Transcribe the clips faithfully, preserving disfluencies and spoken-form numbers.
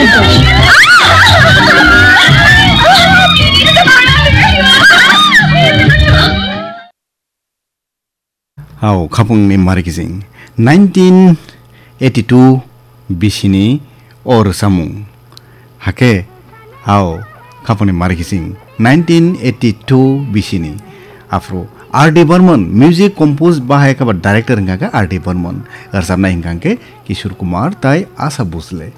Hao, khapungni mari kising. Nineteen eighty-two bisini o rwsamung. Hake, hao, khapungni mari kising. Nineteen eighty-two bisini. Afro R D Burman, music compose bahai kaba director hingka khe R D Burman. Rwchapnai hingka khe Kishore Kumar tai Asha Bhosle.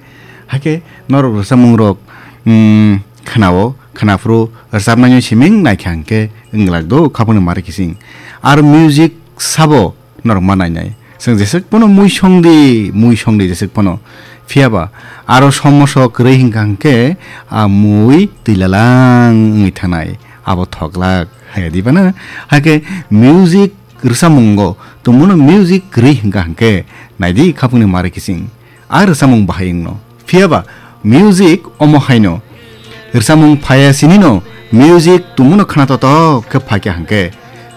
Hake, norok rwchapmung rok, mm, khnao, khnaphuru rwchapnaino siming naikha hingke wngglak do khapungni mari kising. Aro music sabo norok ma nainai. Chwng jeswk pono mui songdi, mui songdi jeswk pono. Phiyaba aro somoso kwrwi hingka hingke a mui twilalang wngwi thanai. Abo thoklak. Haya di bana? Hake music rwchapmungo tongmano music kwrwi hingka hingke naidi khapungni mari kising. A rwchapmung bahai wngno. Phiyaba music omo haino. Rwchapmung phaya sinino music tongmano khna totok khe phaikha hingke.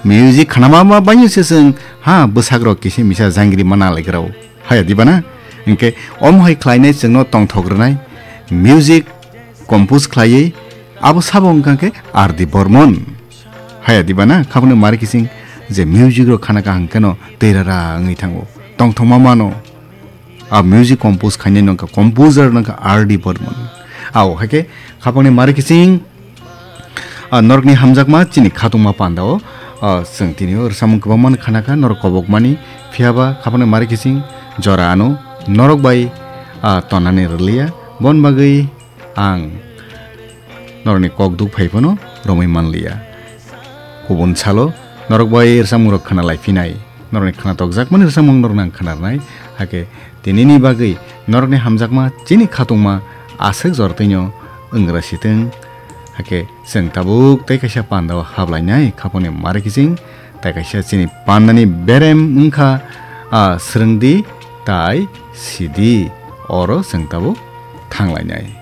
Music khnama ma baino se chwng ha bwsakrok kisi misa jangri mana laikrao. Haya di bana? Hingke omo hai khlainai chwngno tongthok rwnai. Music compose khlaiwi abo sabo wngkha khe R D Burman. Haya di bana? Khapungni mari kising je music rok khana kaham kheno tei rara wngwi thango. Tongthokma mano. A music compose khainai nongkha, composer nongkha R D Burman. Ao, haikhe khapangni mari kising, a, norokni hamjakma chini khatungma pandao, a, chwng tini o rwchapmung kwbangma khana kha, norok kobokmani, phiyaba khapangni mari kising jora ano norok bai, a, tonani rwliya, bon bagwi ang norokni kok duk phai phano romwi manliya. Kubun salo norok bai rwchapmungrok khna lai phinai. Norokni khna tokjakmani rwchapmung norokno ang khna rwnai. Hakhe tinini bagwi norokni hamjakma chini khatungma aswk jora twino wngra sitwng. Hakhe chwng tabuk tei kaisa pandao hablainai khapangni mari kiching. Tai kaisa chini pandani berem wngkha, a, swrwngdi tai sidi oro chwng tabuk thanglainai.